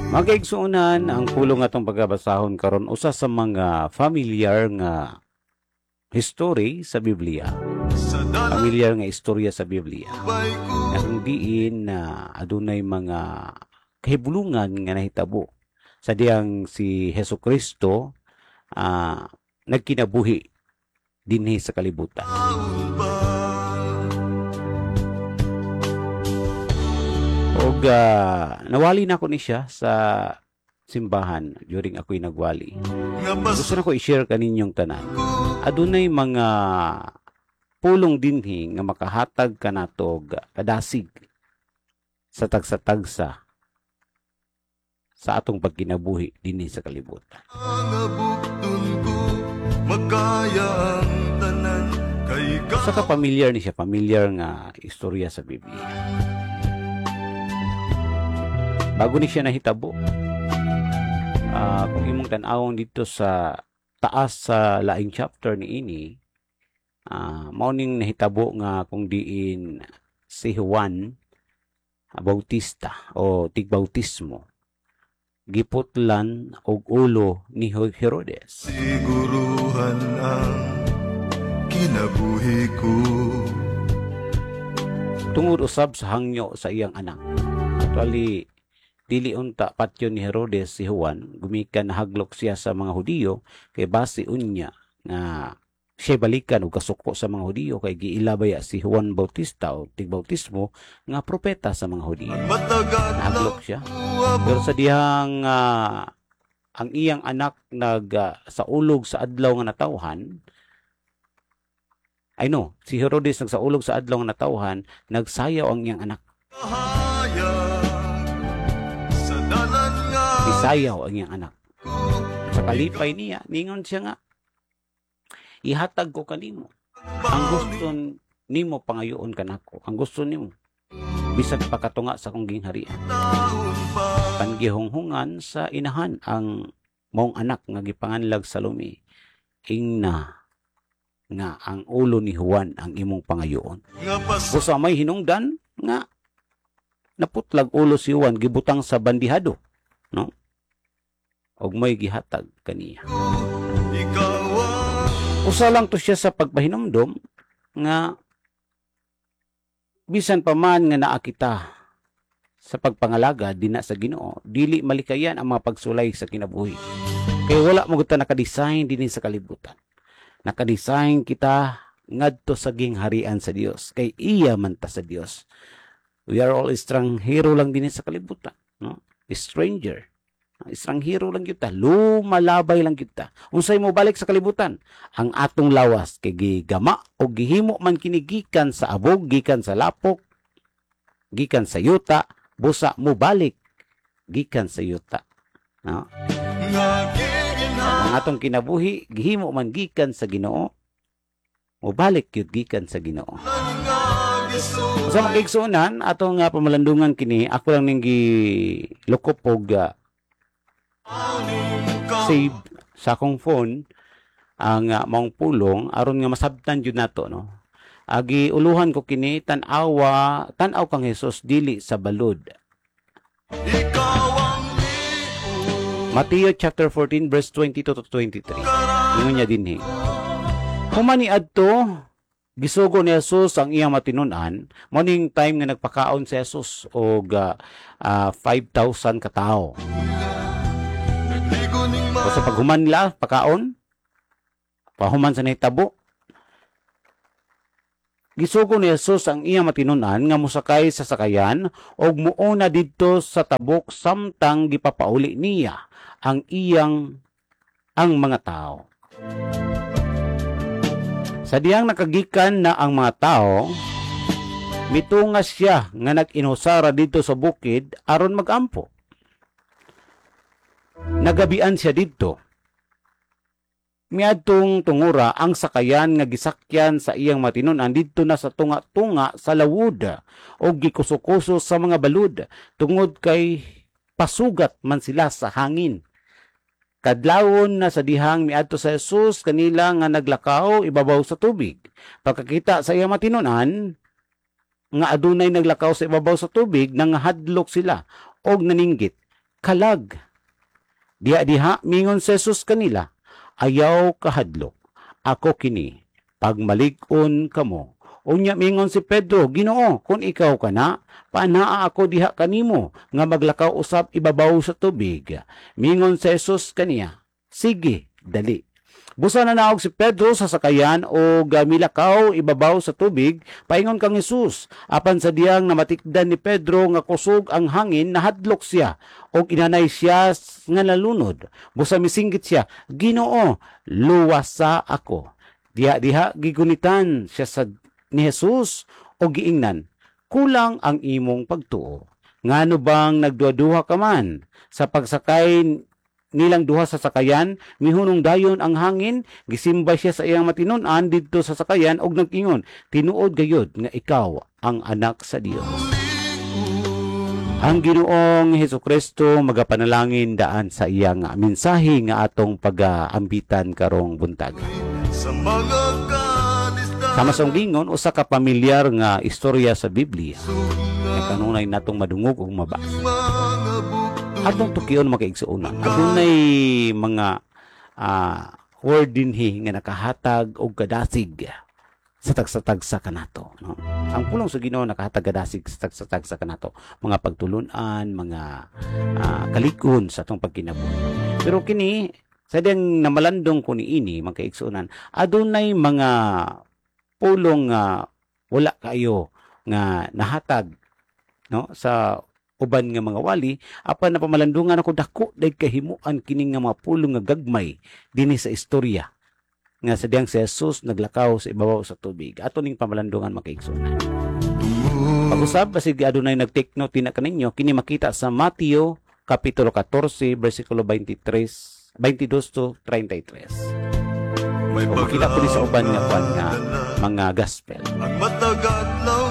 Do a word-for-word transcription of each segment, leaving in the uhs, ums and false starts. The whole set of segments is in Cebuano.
Mga kaigsuonan, ang pulong atong pagabasahon karon usa sa mga familiar nga history sa Biblia. Sa dalan Familiar nga istorya sa Biblia. Bay ko. Na kung diin na adunay mga kahibulungan nga nahitabo sa diyang si Hesus Kristo ah, nagkinabuhi dinhi sa kalibutan. Ba. Og ah, nawali na ko ni siya sa simbahan during ako'y nagwali. Nga pas Gusto na ko i-share kaninyong tanan. ko. Adunay mga pulong dinhi nga makahatag kanato og kadasig sa tagsa-tagsa sa atong pagkinabuhi dinhi sa kalibutan. Nga bukton ko makaya ang tanan kay ka. Usa ka familiar ni siya, familiar nga istorya sa Biblia. Bago ni siya nahitabo, ah, kung imong tan-awon dito sa taas sa laing chapter ni ini, ah, mao ning nahitabo nga kung diin si Juan Bautista o tigbautismo giputlan og ulo ni Herodes. Siguruhan ang kinabuhi ko. Tungod usab sa hangyo sa iyang anak. Actually, dili unta patyon ni Herodes si Juan, gumikan nahaglok siya sa mga Hudiyo kay base unya nga siya balikan og kasuko sa mga Hudiyo kay giila baya si Juan Bautista o tigbautismo nga propeta sa mga Hudiyo. Matag Nahaglok siya. Pero sa dihang ah, ang iyang anak nag ah, saulog sa adlaw nga natawhan, ay no, si Herodes nagsaulog sa adlaw nga natawhan, nagsayaw ang iyang anak. Sa dalan nga Isayaw ang iyang anak. Sa kalipay niya, ningon siya nga, "Ihatag ko kanimo ang gusto nimo pangayoon kanako, ang gusto nimo bisan pa katunga sa akong gingharian." Taon pa. Panggihunghungan sa inahan ang maong anak nga gipanganlag Salome, ingna nga ang ulo ni Juan ang imong pangayoon. Nga pas Busa may hinungdan nga naputlag ulo si Juan, gibutang sa bandihado, no? Og may gihatag kaniya. Ikaw ang Usa lang to siya sa pagpahinumdom nga bisan pa man nga naa kita sa pagpangalaga dinha sa Ginoo, dili malikayan ang mga pagsulay sa kinabuhi. Kay wala mo ta nakadesign dinhi sa kalibutan. Nakadesign kita ngadto sa gingharian sa Dios kay iya man ta sa Dios. We are all estranghero lang dinhi sa kalibutan, no? Stranger. Estranghero lang kita, lumalabay lang kita. Unsay mo balik sa kalibutan? Ang atong lawas kay gigama o gihimo man kini gikan sa abog, gikan sa lapok, gikan sa yuta, busa mo balik gikan sa yuta. No? Nga giginhawa. Ang atong kinabuhi gihimo man gikan sa Ginoo, mo balik gyud gikan sa Ginoo. Nga gisuway. Sa mga igsuonan, atong uh, pamalandungan kini, ako lang ning gilukop og uh, save sa akong phone ang uh, maong pulong aron nga masabtan jud nato, no? Agi uluhan ko kini, tan-awa, tan-aw kang Hesus dili sa balod. Ikaw ang liog. Mateo chapter fourteen verse twenty-two to twenty-three. Ingon niya dinhi. Human ni adto, gisugo ni Jesus ang iyang matinunan, mao ning time nga nagpakaon si Jesus og uh, uh, five thousand ka tawo. Nagligo ning O sa paghuman nila, pakaon, pahuman sa nahitabo, gisugo ni Jesus ang iyang matinunan nga mosakay sa sakayan og muuna didto sa tabok samtang gipapauli niya ang iyang ang mga tao. Sa diyang nakagikan na ang mga tao, mitunga siya nga nag-inusara didto sa bukid aron magampo. Nagabian siya didto. Miadtong tungura ang sakayan nga gisakyan sa iyang matinunan didto na sa tunga-tunga sa lawod o gikuso-kuso sa mga balud tungod kay pasugat man sila sa hangin. Kadlawon na sa dihang miadto sa Jesus kanila nga naglakaw ibabaw sa tubig. Pagkakita sa iyang matinunan nga adunay naglakaw sa ibabaw sa tubig, nangahadlok sila og naninggit. Kalag. Diha diha mingon si Jesus kanila, "Ayaw kahadlok. Ako kini. Pagmalig-on kamo." Unya mingon si Pedro, "Ginoo, kung ikaw kana, panaa ako diha kanimo nga maglakaw usab ibabaw sa tubig." Mingon si Jesus kaniya, "Sige, dali." Busa nanaog si Pedro sa sakayan og milakaw ibabaw sa tubig paingon kang Jesus. Apan sa diyang namatikdan ni Pedro nga kusog ang hangin, nahadlok siya og inanay siya nga nalunod. Busa misinggit siya, "Ginoo, luwasa ako." Diha diha gigunitan siya sa ni Jesus og giingnan, "Kulang ang imong pagtuo. Ngano bang nagduha-duha ka man?" Sa pagsakay nilang duha sa sakayan, mihunong dayon ang hangin. Gisimba siya sa iyang matinon-an didto sa sakayan og nag-ingon, "Tinuod gayud nga ikaw ang Anak sa Dios." Ang Ginoong Hesukristo magapanalangin daan sa iyang mensahe nga atong pag-ambitan karong buntag. Sa mga kalisdanan. Sama sa gingon, usa ka pamilyar nga istorya sa Biblia nga kanunay natong madungog ug mabasa. Mga bugtong. Atong tukion, mga kaigsuonan. Adunay mga ah, word dinhi nga nakahatag og kadasig sa tagsa-tagsa kanato, no? Ang pulong sa Ginoo nakahatag kadasig sa tagsa-tagsa kanato, mga pagtulunan, mga ah, kalig-on sa atong pagkinabuhi. Pero kini sa diyang namalandong ko niini, mga kaigsuonan, adunay mga pulong nga wala kayo nga nahatag, no, sa uban nga mga wali, apan napamalandungan ako, dako day kahimuan kini nga mga pulong nga gagmay dinhi sa istorya nga sa diyang si Jesus naglakaw sa ibabaw sa tubig. Ato ning pamalandungan, mga kaigsuonan. Pag-usab, basig adunay nag-take note tina kaninyo, kini makita sa Mateo kapitulo katorse bersikulo twenty-three, twenty-two to thirty-three. May O makita po ni sa uban nga kwan nga mga gospel. Ang matag adlaw.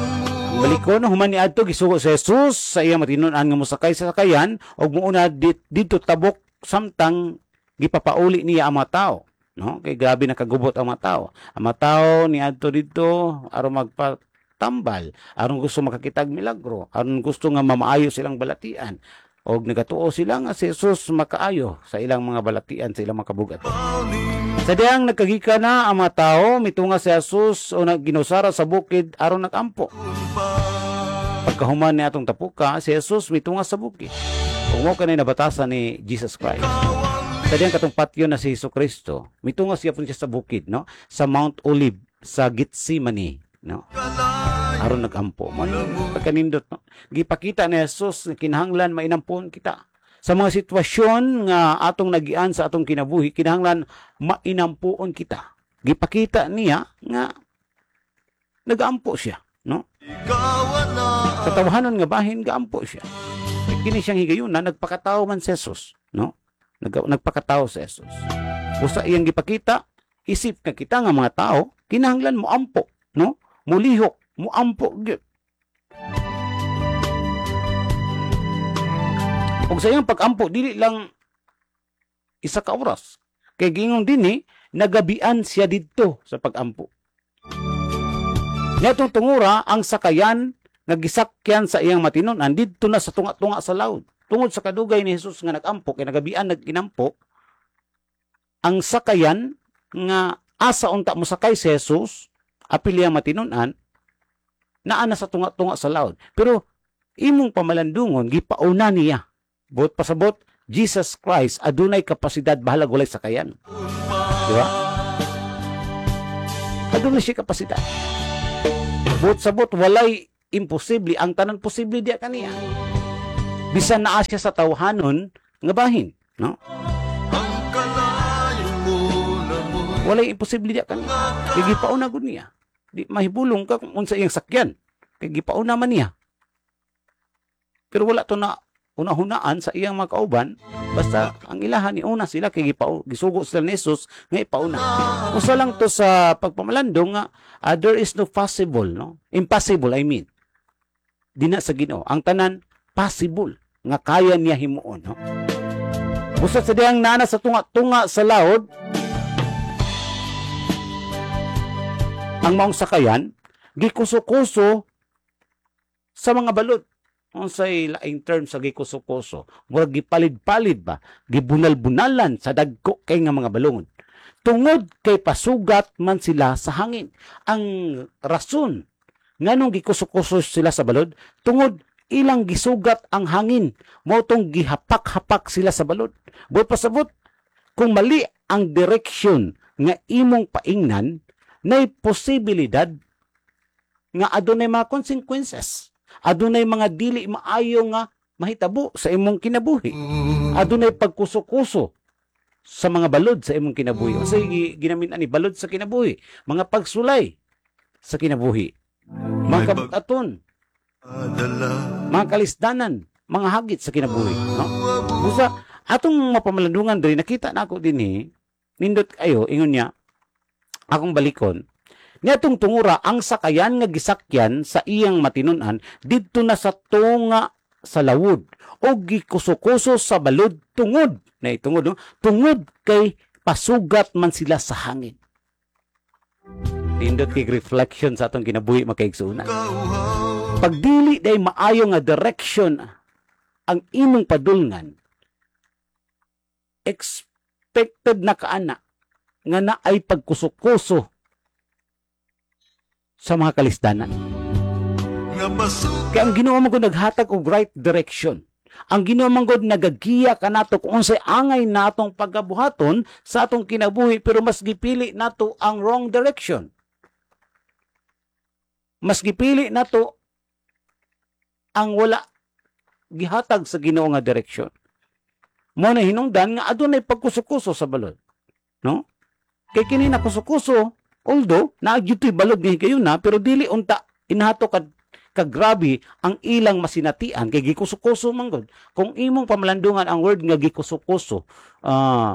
Balik ko no, human ni adto, gisugo si Jesus sa iyang matinud-an nga mosakay sa sakayan ug muuna dit, didto tabok samtang gipapauli niya ang mga tao, no? Kay grabe nakagubot ang mga tao. Ang mga tao ni adto didto aron magpatambal, aron gusto makakitag milagro, aron gusto nga mamaayo silang balatian og nagatuo sila nga si Jesus makaayo sa ilang mga balatian, sa ilang mga kabugat. Sa diyang nagkagika na ang mga tao, mitunga si Jesus o nagginusara sa bukid aron nagampo. Pagkahuman ni atong tapuka, si Jesus mitunga sa bukid. Ug mao kanay nabatasan ni Jesus Christ. Sa diyang katong patyo na si Jesu Kristo, mitunga siya po siya sa bukid, no? Sa Mount Olive, sa Gethsemane, no? Aron nagampo. Man, pagkanindot, no? Gipakita ni Jesus nga kinahanglan mainampon kita. Sa mga sitwasyon nga atong nagian sa atong kinabuhi, kinahanglan mainampuon kita. Gipakita niya nga nagaampo siya, no? Sa tawhanon nga bahin, gaampo siya. Kini siyang higayuna, nagpakatao man si Jesus, no? Nag, nagpakatao si Jesus. Usa iyang gipakita, isip nga kita nga mga tao, kinahanglan mo ampo, no? Mulihok, mo ampo gyud. Ug sa iyang pag-ampo, dili lang isa ka oras. Kay giingon dinhi, nagabian siya didto sa pag-ampo. Niadtong tungura, ang sakayan nga gisakyan sa iyang matinon-an didto na sa tunga-tunga sa laud. Tungod sa kadugay ni Jesus nga nag-ampo, kay nagabian nag-inampo, ang sakayan nga asa unta mosakay si Jesus, apil iyang matinon-an, naa na sa tunga-tunga sa laud. Pero imong pamalandungon, gipauna niya. Buot pasabot, Jesus Christ adunay kapasidad bahalag walay sakayan. Di ba? Adunay siya kapasidad. Buot sabot, walay imposible. Ang tanan posible diya kaniya. Bisan naa siya sa tawhanon nga bahin, no? Walay imposible diya kaniya. Kay gipauna gud niya. Di mahibulong ka kung unsa iyang sakyan. Kay gipauna man niya. Pero wala to na una-hunaan sa iyang mga kauban, basta ang ilahan ni una sila kay gipau, gisugo sila ni Jesus nga ipauna. Usa lang to sa pagpamalandong nga uh, there is no possible, no? Impossible, I mean. Dina sa Ginoo ang tanan possible nga kaya niya himuon, no? Busa sa diyang nana sa tunga-tunga sa laod ang maong sakayan gikuso-kuso sa mga balod. Unsay laing term sa gikuso-kuso? Murag gipalid-palid ba? Gibunal-bunalan sa dagko kay nga mga balungod. Tungod kay pasugat man sila sa hangin. Ang rason nganong gikuso-kuso sila sa balod, tungod ilang gisugat ang hangin. Mao tong gihapak-hapak sila sa balod. Buot pasabot, kung mali ang direksyon nga imong paingnan, nay posibilidad nga adunay mga consequences. Adunay mga dili maayo nga mahitabo sa imong kinabuhi. Adunay pagkuso-kuso sa mga balod sa imong kinabuhi. Unsay ginamin ani balod sa kinabuhi? Mga pagsulay sa kinabuhi. Mga kabutaton, mga kalisdanan, mga hagit sa kinabuhi, no? Busa atong mapamalandungan diri, nakita na ako dinhi, nindot kayo, ingon niya, akong balikon, niatong tungura ang sakayan nga gisakyan sa iyang matinunan didto na sa tunga sa lawod o gikuso-kuso sa balod tungod na tungod, no? Tungod kay pasugat man sila sa hangin. Nindot kay reflection sa atong kinabuhi, makaigsuonan. Pagdili day maayo nga direction ang imong padulngan, expected na kaana nga naay pagkuso-kuso sa mga kalisdanan. Kaya ang Ginoo man gud naghatag og right direction. Ang Ginoo man gud nagagiya kanato kung unsay angay natong pagabuhaton sa atong kinabuhi, pero mas gipili nato ang wrong direction. Mas gipili nato ang wala gihatag sa Ginoo nga direksyon. Mo na hinungdan nga adunay pagkuso-kuso sa balod. No? Kay kini nakuso-kuso, although naa gyud to'y balod nga higayuna, pero dili unta inahato kad kagrabe ang ilang masinatian kay gikuso-kuso man gud. Kung imong pamalandungan ang word nga gikuso-kuso, ah, uh,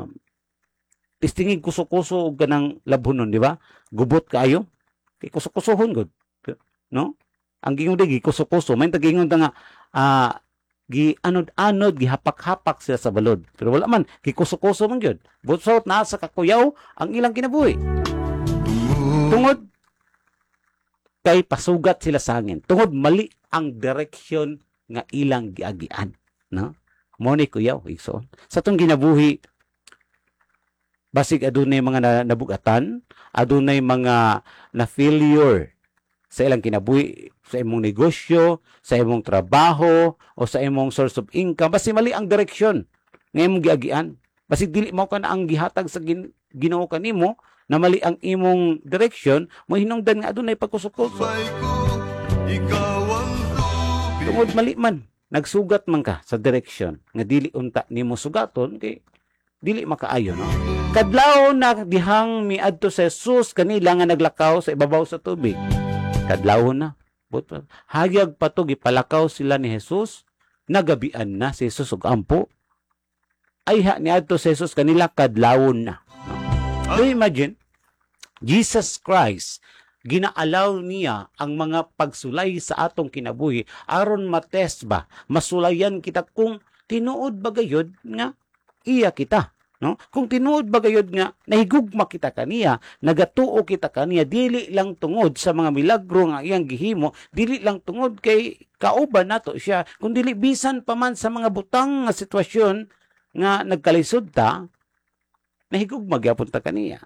tistingig kuso-kuso og kanang labhonon, di ba? Gubot kaayo. Kay kuso-kusohon gud. No? Ang gingon di gikuso-kuso, may tagingon ta nga ah, gi anod-anod, gihapak-hapak sila sa balod. Pero wala man, gikuso-kuso man gyud. Butsot naa sa kakuyaw ang ilang kinabuhi. Tungod kay pasugat sila sa hangin. Tungod mali ang direksyon nga ilang giagian, no? Mo ni kuyaw igsoon. Sa atong ginabuhi, basig adunay mga nabugatan, adunay mga na failure sa ilang kinabuhi, sa imong negosyo, sa imong trabaho, o sa imong source of income, basi mali ang direksyon nga imong giagian. Basig dili mao ka na ang gihatag sa gin, Ginoo kanimo, na mali ang imong direksyon, mo hinungdan nga adunay pagkuso-kuso. Tungod mali man, nagsugat man ka sa direksyon nga dili unta nimo sugaton kay dili makaayo, no? Kadlaw na dihang miadto sa Jesus kanila nga naglakaw sa ibabaw sa tubig. Kadlaw na. Hayag pa to, gipalakaw sila ni Jesus, nagabian na si Jesus og ampo. Ayha niadto si Jesus kanila kadlawon na. No? Do you imagine? Jesus Christ, ginaalaw niya ang mga pagsulay sa atong kinabuhi aron matest ba, masulayan kita kung tinuod ba gayod nga iya kita, no? Kung tinuod ba gayod nga nahigugma kita kaniya, nagatuo kita kaniya, dili lang tungod sa mga milagro nga iyang gihimo, dili lang tungod kay kauban nato siya, kun dili bisan pa man sa mga butang nga sitwasyon nga nagkalisod ta, nahigugma gyapon ta kaniya.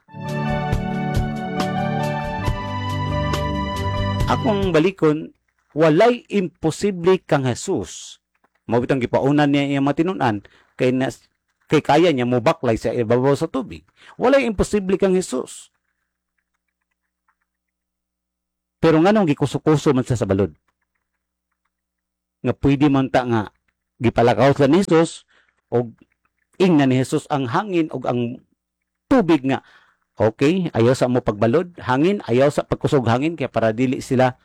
Akong balikon, walay imposible kang Jesus. Mao bitong gipaunan niya iyang matinunan kay nas, kay kaya niya mobaklay sa ibabaw sa tubig. Walay imposible kang Jesus. Pero nganong gikuso-kuso man siya sa balod? Nga pwede man ta nga gipalakaw sila ni Jesus og ingna ni Jesus ang hangin og ang tubig nga okay, ayaw sa mo pagbalod, hangin, ayaw sa pagkusog hangin, kaya para dili sila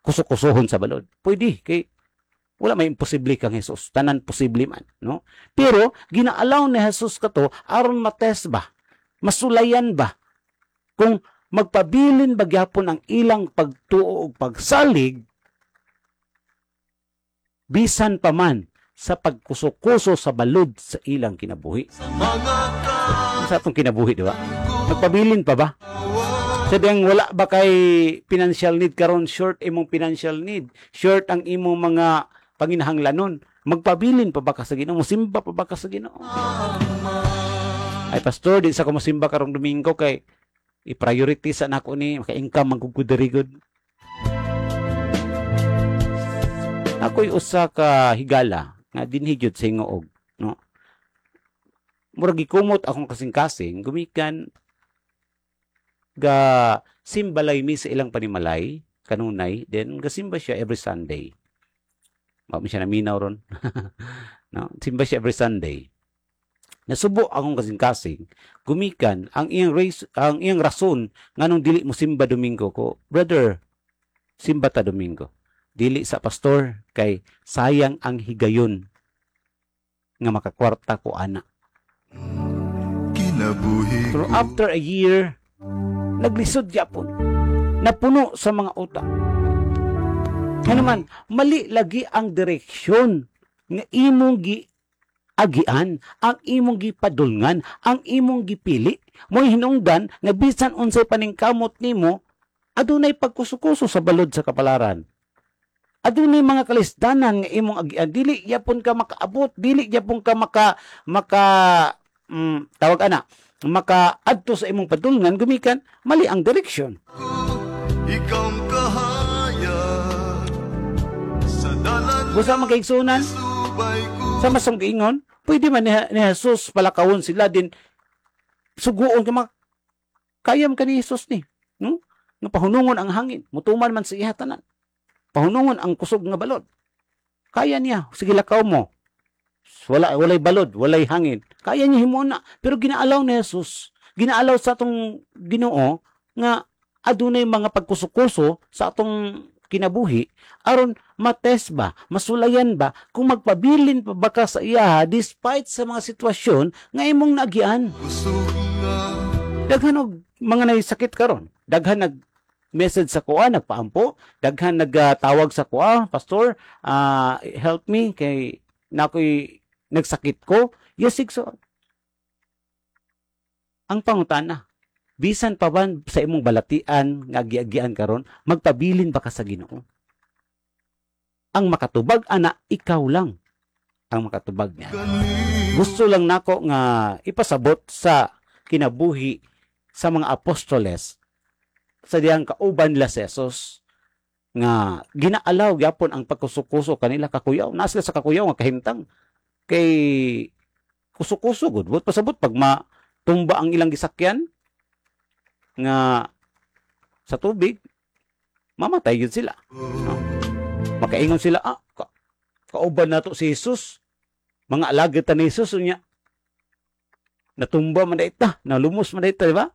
kusukusuhon sa balod. Pwede, kay wala may imposible kang Jesus. Tanan posible man, no? Pero, ginaalaw ni Jesus kato, aron matest ba? Masulayan ba? Kung magpabilin ba gyapon ang ilang pagtuo o pagsalig, bisan pa man sa pagkuso-kuso sa balod sa ilang kinabuhi. Sa atong kinabuhi, di ba? Nagpabilin pa ba? Sa diyang wala ba kay financial need karon, short imong financial need, short ang imong mga panginahanglanon, magpabilin pa ba ka sa Ginoo? Musimba pa ba ka sa Ginoo? Ay, pastor, di sa ko mosimba karong Domingo kay i-priority sa nako ni maka-income man gud gud. Ako'y usa ka higala nga dinhi gyud sa Hingoog, no? Murag gikumot akong kasing-kasing gumikan ga simbalay mi sa ilang panimalay kanunay, then gasimba siya every Sunday. Wa mi siya naminaw ron. No? Simba siya every Sunday. Nasubo akong kasing-kasing gumikan ang iyang race, ang iyang rason nganong dili mo simba Domingo ko. Brother, simba ta Domingo. Dili sa, pastor, kay sayang ang higayon nga makakwarta ko ana. Kinabuhi Pero ko after a year, naglisod gyapon. Napuno sa mga utang. Nga naman, mali lagi ang direksyon nga imong gi agian, ang imong gipadulngan, ang imong gipili. Mo'y hinungdan nga bisan unsay paningkamot nimo, adunay pagkuso-kuso sa balod sa kapalaran. Adunay mga kalisdanan nga imong agian, dili yapon ka makaabot, dili yapon ka maka maka mm, tawag ana, makaadto sa imong padulngan gumikan mali ang direksyon. Ikaw ang kahayag sa dalan. Busa magkaigsunan Subay ko sa masong giingon, pwede man ni, ni Jesus palakawon sila din suguon ka mak kaya man ka ni Jesus ni, no? Nga pahunungon ang hangin, mutuman man sa iya tanan. Pahunungon ang kusog nga balod. Kaya niya, sige, lakaw mo. Wala walay balod, walay hangin. Kaya niya himuon na, pero ginaalaw ni Jesus, ginaalaw sa atong Ginoo nga adunay mga pagkuso-kuso sa atong kinabuhi aron matest ba, masulayan ba kung magpabilin pa ba ka sa iya despite sa mga sitwasyon nga imong naagian. Kusog nga Daghan og mga naysakit karon. Daghan nag message sa kuha, nagpaampo, daghan nagtawag sa kuha, "Pastor, ah, help me kay nakoy nagsakit ko." Yes, igsoon. Ang pangutana, bisan pa ba sa imong balatian nga agiagian karon, magpabilin ba ka sa Ginoo? Ang makatubag ana, ikaw lang ang makatubag niya. Kanimo Gusto lang nako nga ipasabot sa kinabuhi sa mga apostoles sa diyang kauban nila si Jesus nga ginaalaw gyapon ang pagkuso-kuso kanila, kakuyaw na sila sa kakuyaw nga kahimtang kay kuso-kuso gud. But pasabot pag matumba ang ilang gisakyan nga sa tubig, mamatay gyud sila, no? Makaingon sila, ah, ka, kauban nato si Jesus, mga alagad ta ni Jesus, unya natumba man ta, nalumos man ta, di ba?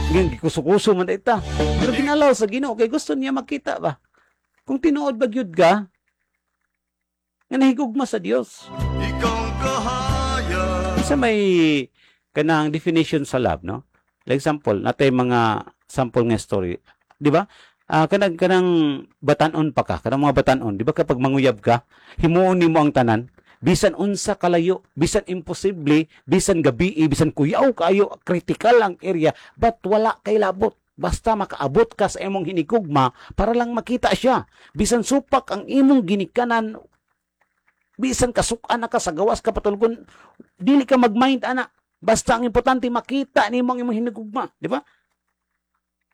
Ngayon, gikuso-kuso man ta. Pero ginalaw sa Ginoo kay gusto niya makita ba kung tinuod ba gyud ka nga nahigugma sa Dios. Ikaw ang kahayag Sa may kanang definition sa love, no? Like example, natay mga sample nga story, di ba? Ah, kanang kanang batanon pa ka, kanang mga batanon, di ba kapag manguyab ka, himuon nimo ang tanan, bisan unsa kalayo, bisan imposible, bisan gabi, bisan kuyaw kayo, critical ang area, but wala kay labot. Basta makaabot ka sa imong hinigugma para lang makita siya. Bisan supak ang imong ginikanan, bisan kasukan na ka sa gawas ka patulgon, dili ka magmind ana. Basta ang importante makita nimo ang imong hinigugma, di ba?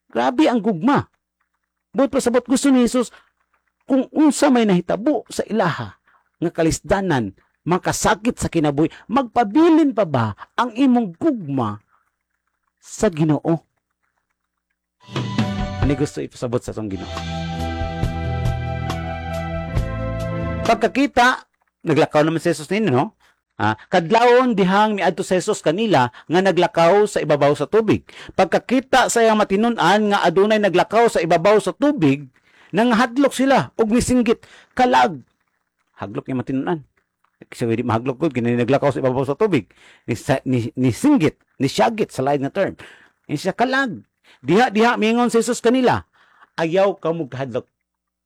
Grabe ang gugma. Buot pasabot, gusto ni Jesus kung unsa may nahitabo sa ilaha nga kalisdanan, makasakit sa kinabuhi, magpabilin pa ba ang imong gugma sa Ginoo? Ani gusto ipasabot sa atong Ginoo. Pagkakita, naglakaw naman si Jesus nino, no? Ah, kadlawon dihang miadto si Jesus kanila nga naglakaw sa ibabaw sa tubig. Pagkakita sa iyang matinun-an nga adunay naglakaw sa ibabaw sa tubig, nangahadlok sila ug misinggit, "Kalag!" Haglok niya matinun-an. Kasi di mahaglok gud kini naglakaw sa ibabaw sa tubig. Ni, ni, nisinggit, nisyagit sa lain nga term. Ni siya, "Kalag!" Diha diha miingon si Jesus kanila, "Ayaw ka mo kahadlok."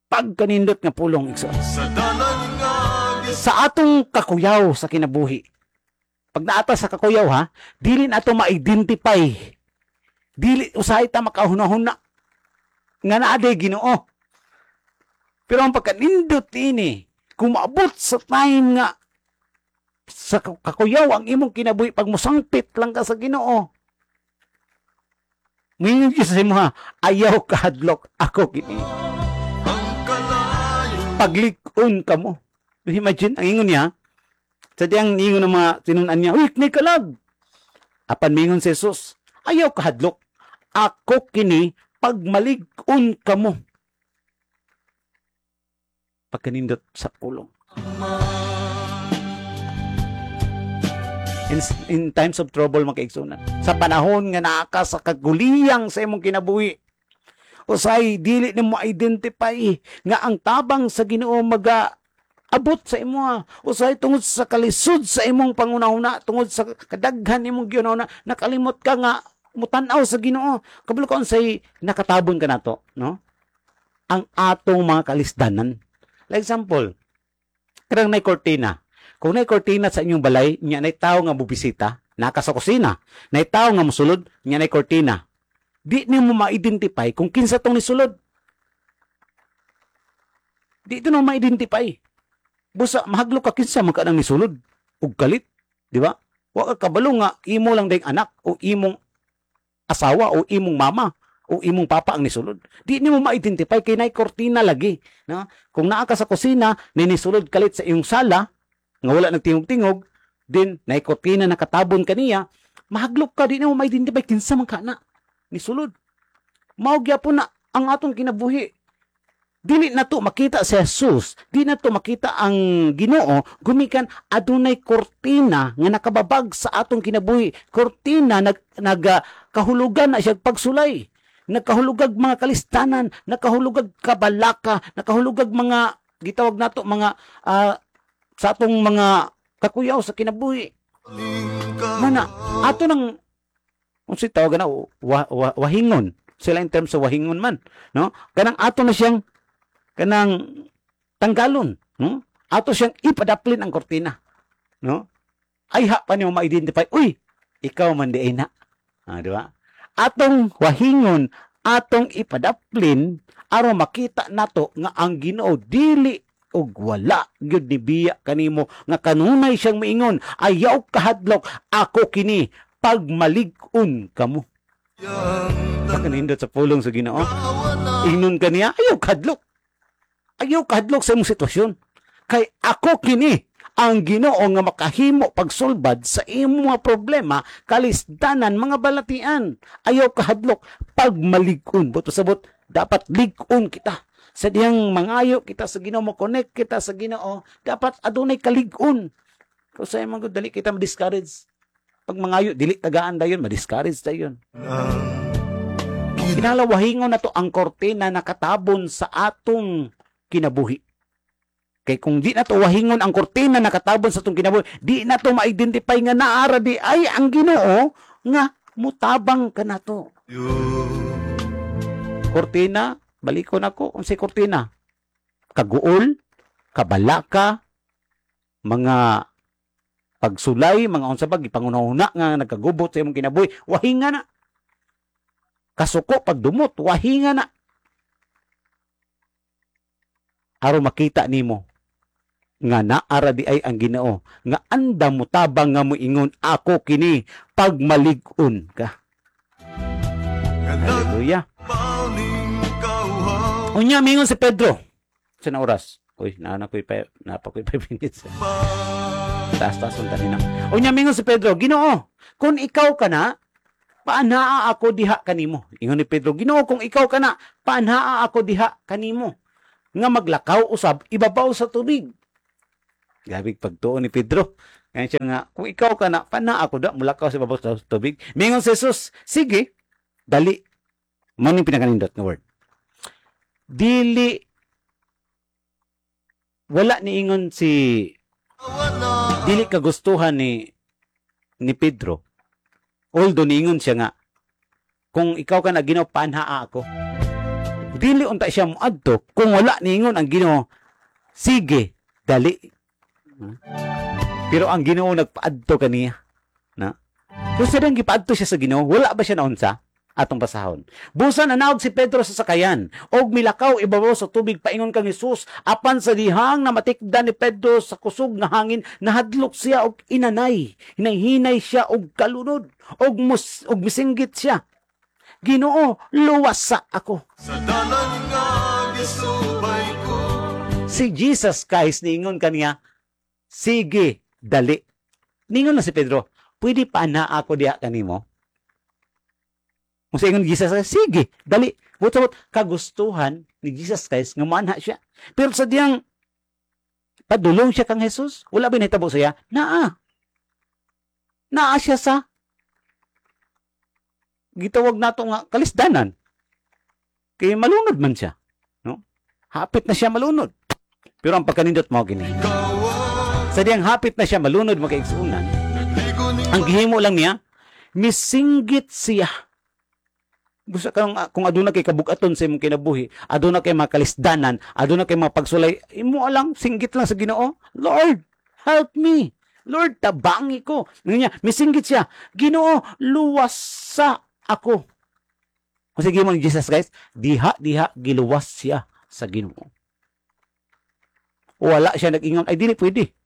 Pagkanindot nga pulong, igsoon. Sa dalan nga Sa atong kakuyaw sa kinabuhi. Pag naata sa kakuyaw ha, dili na ato ma-identify. Dili usahay ta makahuna-huna nga naa day Ginoo. Pero ang pagkanindot ini Kung maabot sa time nga sa kakuyaw ang imong kinabuhi, pag musangpit lang ka sa Ginoo, mingon siya sa imo ha, "Ayaw kahadlok, ako kini." Ang kalayo. Paglig-on ka mo. Imagine, ang ingon niya, sa diyang ingon ng mga tinunan niya, "Uy, may kalag." Apan mingon si Jesus, "Ayaw kahadlok, ako kini, pagmalig-on ka mo." Pagkanindot sa pulong. In, in times of trouble, mga kaigsunan, sa panahon nga naa ka sa kaguliyang sa imong kinabuhi, usay dili nimo identify nga ang tabang sa Ginoo maga abot sa imo. Usay tungod sa kalisod sa imong pangunahuna, tungod sa kadaghan imong gihuna, nakalimot ka nga mutan-aw sa Ginoo. Kabalo ka unsay nakatabon ka nato, no? Ang atong mga kalisdanan. Like example, kanang nay kortina. Kung nay kortina sa inyong balay, nya nay tawo nga mobisita, naka sa kusina, nay tawo nga mosulod, nya nay kortina. Di nimo ma-identify kung kinsa tong nisulod. Di ito no ma-identify. Busa mahadlok ka, kinsa man ka nang nisulod ug kalit, di ba? Wa ka kabalo nga imo lang dayong anak o imong asawa o imong mama o imong papa ang nisulod. Di nimo ma-identify kay nay kortina lagi, no? Kung naa ka sa kusina, ni nisulod kalit sa iyong sala nga wala nagtingog-tingog, din nay kortina nakatabon kaniya, mahadlok ka, di nimo ma-identify kinsa man ka na nisulod. Mao gyapon na ang atong kinabuhi. Dili na to makita si Jesus, di na to makita ang Ginoo gumikan adunay kortina nga nakababag sa atong kinabuhi. Kortina nag nagkahulugan na siya pagsulay. Nagkahulugag mga kalistanan, nakahulugag kabalaka, nakahulugag mga gitawag nato mga uh, sa atong mga kakuyaw sa kinabuhi. Mana ato nang unsay tawag na wa, wa, wahingon sila in terms of wahingon man, no? Kanang ato na siyang kanang tanggalon, no? Ato siyang ipadaplin ang kortina, no? Ay ha pa nimo ma-identify, "Uy, ikaw man di na." Ah, di ba? Atong wahingon, atong ipadaplin aron makita nato nga ang Ginoo dili og wala gyud ni biya kanimo nga kanunay siyang miingon, "Ayaw kahadlok, ako kini, pagmalig-on kamo." Pakanindot sa pulong sa Ginoo. Ingnon kaniya, "Ayaw kahadlok. Ayaw kahadlok sa imong sitwasyon. Kay ako kini ang Ginoo nga makahimo pagsulbad sa imong mga problema, kalisdanan, mga balatian. Ayaw kahadlok, pagmalig-on." Buot pasabot, dapat lig-on kita. Sa diyang mangayo kita sa Ginoo, mo-connect kita sa Ginoo, dapat adunay kalig-on. Kung sa imong dali kita ma-discourage. Pag mangayo, dili tagaan dayon, ma-discourage dayon. Kinahanglan wahingon na to ang kortina nakatabon sa atong kinabuhi. Kay kung di na to wahingon ang kortina nakatabon sa atong kinabuhi, di na to ma-identify nga naara di ay ang Ginoo nga mutabang kanato. Kortina, balikon ako, unsay kortina? Kaguol, kabalaka, mga pagsulay, mga unsa ba gipangunahuna nga nagkagubot sa imong kinabuhi, wahinga na. Kasuko pagdumot, wahinga na. Aron makita nimo nga naara di ay ang Ginoo nga andam motabang nga moingon, "Ako kini, pagmalig-on ka." Hallelujah. Unya mingon si Pedro sa na oras. Uy, naa na ko'y naa pa ko'y five minutes. Taas-taas ang tanin. Unya mingon si Pedro, "Ginoo, kung ikaw ka na, paanhaa ako diha kanimo." Ingon ni Pedro, "Ginoo, kung ikaw ka na, paanhaa ako diha kanimo nga maglakaw usab ibabaw sa tubig." Grabe pagtuo ni Pedro. Kaya siya nga, "Kung ikaw ka na, paanhaa ako da, mulakaw sa ibabaw sa tubig." Mingon si Jesus, "Sige, dali." Mao ning pinakanindot nga word. Dili wala niingon si dili kagustuhan ni ni Pedro. Although niingon siya nga, "Kung ikaw ka na, Ginoo, paanhaa ako." Dili unta siya moadto kung wala niingon ang Ginoo, "Sige, dali." Pero ang Ginoo nagpaadto kaniya. Na? Kung sa gipaadto siya sa Ginoo, wala ba siya naunsa? Atong basahon. Busa nanaog si Pedro sa sakayan og milakaw ibabaw sa tubig paingon kang Hesus. Apan sa dihang namatikdan ni Pedro sa kusog nga hangin, nahadlok siya og inanay. Hinay-hinay siya og kalunod og mus og misinggit siya. "Ginoo, luwasa ako." Sa dalan nga gisubay ko. Si Jesus Christ niingon kaniya, "Sige, dali." Ningon na si Pedro, "Pwede pa na ako diha kanimo?" Kung sa ingon Jesus, "Sige, dali." Buot kagustuhan ni Jesus Christ nga moanha siya. Pero sa diyang padulong siya kang Jesus, wala ba nahitabo siya? Naa. Naa siya sa gitawag nato nga kalisdanan. Kay malunod man siya. No? Hapit na siya malunod. Pero ang pagkanindot mo gini. Ikaw ang Sa diyang hapit na siya malunod, mga kaigsuonan, nagligo ni ang gihimo lang niya, misinggit siya. Gusto kang kung aduna kay kabugaton sa imong kinabuhi, aduna kay mga kalisdanan, aduna kay mga pagsulay, imo lang singgit lang sa Ginoo, "Lord, help me. Lord, tabangi ko." Nga niya, misinggit siya, "Ginoo, luwasa ako." Kung sige mo ni Jesus guys, diha diha giluwas siya sa Ginoo. Wala siya nag-ingon, "Ay, dili pwede.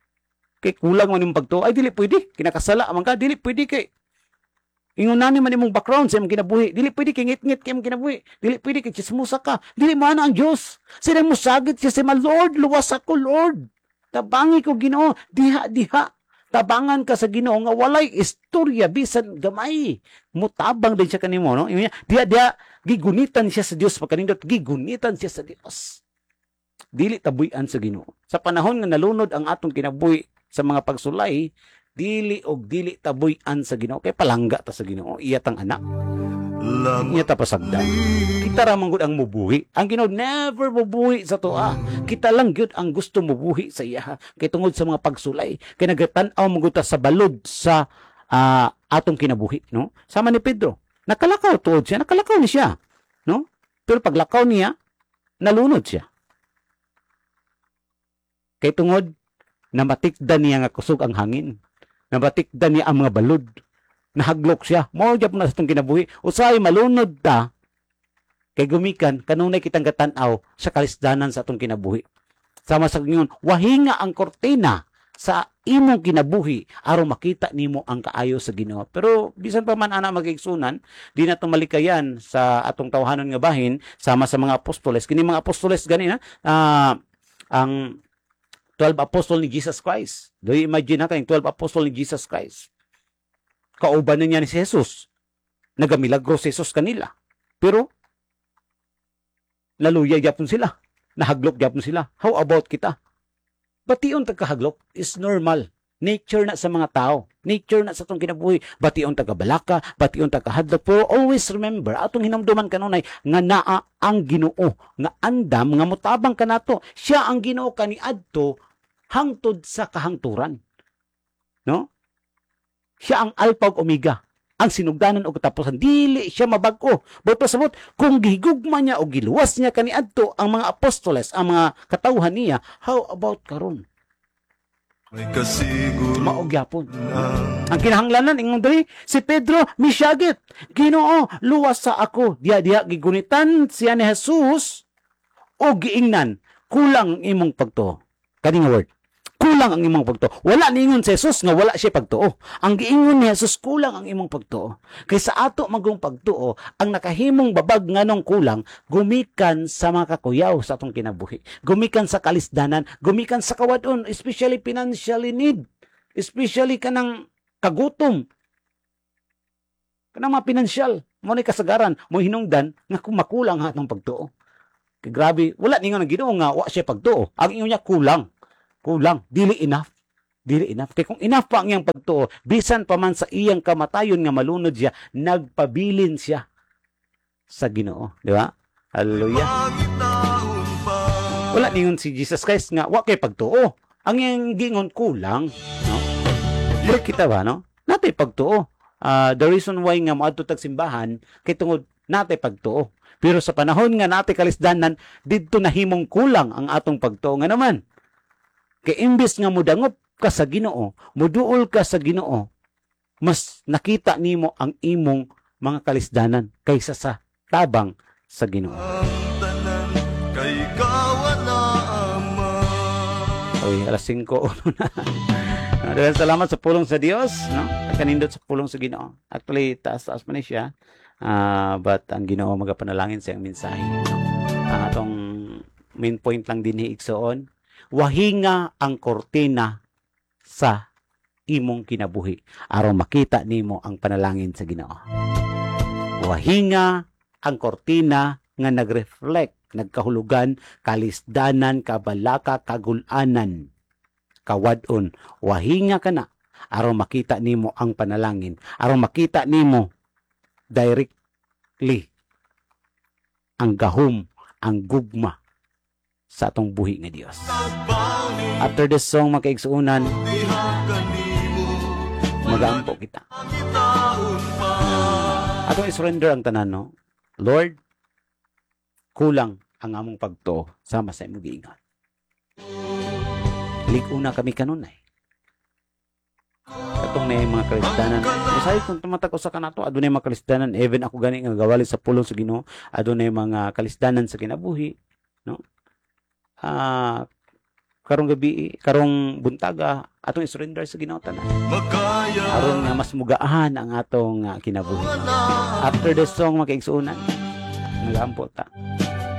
Kay kulang man imong pagtuo, ay, dili pwede. Kinakasala man ka, dili pwede kay ingon nani man imong background sa imong kinabuhi. Dili pwede kay ngit-ngit kay imong kinabuhi. Dili pwede kay chismosa ka. Dili man ang Dios." Sila musagit siya sa "Lord, luwas ako, Lord. Tabangi ko, Ginoo." Diha diha. Tabangan ka sa Ginoo nga walay istorya bisan gamay. Mutabang din siya kanimo, no? Ingon niya, diha diha gigunitan siya sa Dios, pagkanindot, gigunitan siya sa Dios. Dili tabuy-an sa Ginoo. Sa panahon nga nalunod ang atong kinabuhi sa mga pagsulay, dili og dili tabuy-an sa Ginoo kay palangga ta sa Ginoo, iya tang anak, Lamang iya ta pasagdan. Kita ra man gud ang mubuhi. Ang Ginoo never mubuhi sa atoa. Kita lang gyud ang gusto mubuhi sa iya kay tungod sa mga pagsulay, kay nagatan-aw man gud ta sa balod sa ah, atong kinabuhi, no? Sama ni Pedro, nakalakaw tuod siya, nakalakaw ni siya, no? Pero paglakaw niya, nalunod siya. Kay tungod namatikdan niya nga kusog ang hangin. Namatikdan niya ang mga balod. Nahaglok siya. Mao gyud na sa itong kinabuhi. Usahay malunod ta kay gumikan kanunay kitang gatan-aw sa kalisdanan sa atong kinabuhi. Sama sa ingon, wahinga ang kortina sa imong kinabuhi aron makita nimo ang kaayo sa Ginoo. Pero bisan pa man ana, mga kaigsuonan, di na malikayan sa atong tawhanon nga bahin sama sa mga apostoles. Kini mga apostoles gani na ah, ang twelve apostol ni Jesus Christ. Do you imagine na kayong twelve apostol ni Jesus Christ? Kauban na niya ni si Jesus. Nagamilagro si Jesus kanila. Pero naluya gyapon sila. Nahaglok gyapon sila. How about kita? Bation tag kahaglok is normal. Nature na sa mga tao. Nature na sa atong kinabuhi. Bation tag kabalaka, bation tag kahadlok. Pero always remember, atong hinumduman kanunay nga naa ang Ginoo, nga andam nga mutabang kanato. Siya ang Ginoo kaniadto hangtod sa kahangturan. No? Siya ang Alpha ug Omega, ang sinugdanan og katapusan. Dili siya mabag-o. But pasabot, kung gihigugma niya o giluwas niya kaniadto ang mga apostoles, ang mga katawhan niya, how about karon? May kasiguro Mao gyapon. Ang Ang kinahanglanan ingon diri, si Pedro misyagit. "Ginoo, luwas sa ako." Diya diha gigunitan siya ni Jesus o giingnan, "Kulang ang imong pagtuo." Kani nga word. Kulang ang imong pagtuo. Wala niingon si Jesus nga wala siya pagtuo. Ang giingon ni Jesus, "Kulang ang imong pagtuo." Kay sa ato magong pagtuo, ang nakahimong babag nganong kulang, gumikan sa mga kakuyaw sa atong kinabuhi. Gumikan sa kalisdanan, gumikan sa kawadon, especially financially need. Especially kanang kagutom. Kanang mga pinansyal, mo ni kasagaran, mo hinungdan nga kung makulang ang atong pagtuo. Kay grabe, wala ningon ang Ginoo nga wa siya pagtuo. Ang ingon niya, kulang. Kulang, dili enough. Dili enough. Kay kung enough pa ang iyang pagtuo, bisan pa man sa iyang kamatayon nga malunod siya, nagpabilin siya sa Ginoo, di ba? Hallelujah. Pangitaon pa. Wala ningon si Jesus Christ nga wa kay pagtuo. Ang iyang gingon, kulang, no? Pero kita ba, no? Natay pagtuo. Ah, the reason why nga moadto tag simbahan kay tungod natay pagtuo. Pero sa panahon nga natay kalisdanan, didto nahimong kulang ang atong pagtuo nga naman. Kay imbes nga modangop ka sa Ginoo, moduol ka sa Ginoo, mas nakita nimo ang imong mga kalisdanan kaysa sa tabang sa Ginoo. Ang tanan kay kawala ama. Oy, alas singko na. Uh, Daghang salamat sa pulong sa Dios, no? Kanindot sa pulong sa Ginoo. Actually, taas-taas man ni siya. Ah, but ang Ginoo magapanalangin sa iyang mensahe, no? Ang atong main point lang dinhi, igsoon, wahinga ang kortina sa imong kinabuhi aron makita nimo ang panalangin sa Ginoo. Wahinga ang kortina nga nagreflect, nagkahulugan, kalisdanan, kabalaka, kagulanan, kawadon. Wahinga ka na aron makita nimo ang panalangin, aron makita nimo directly ang gahom, ang gugma sa atong buhi nga Dios. After this song, mga kaigsuonan, Diha kanimo magaampo kita. Gitaon pa. Atong i-surrender ang tanan, no? Lord, kulang ang among pagtuo sama sa imong giingon. Lig-una kami kanunay. Katong na mga kalisdanan. Masay kung tumatag usa ka nato, adunay mga kalisdanan, even ako gani nga gawali sa pulong sa Ginoo, adunay mga kalisdanan sa kinabuhi, no? Ah, karong gabi, karong buntaga, atong i-surrender sa Ginoo tanan. Makaya Aron nga mas mugaan ang atong ah, kinabuhi. Wala. After this song, mga kaigsuonan, nagaampo ta.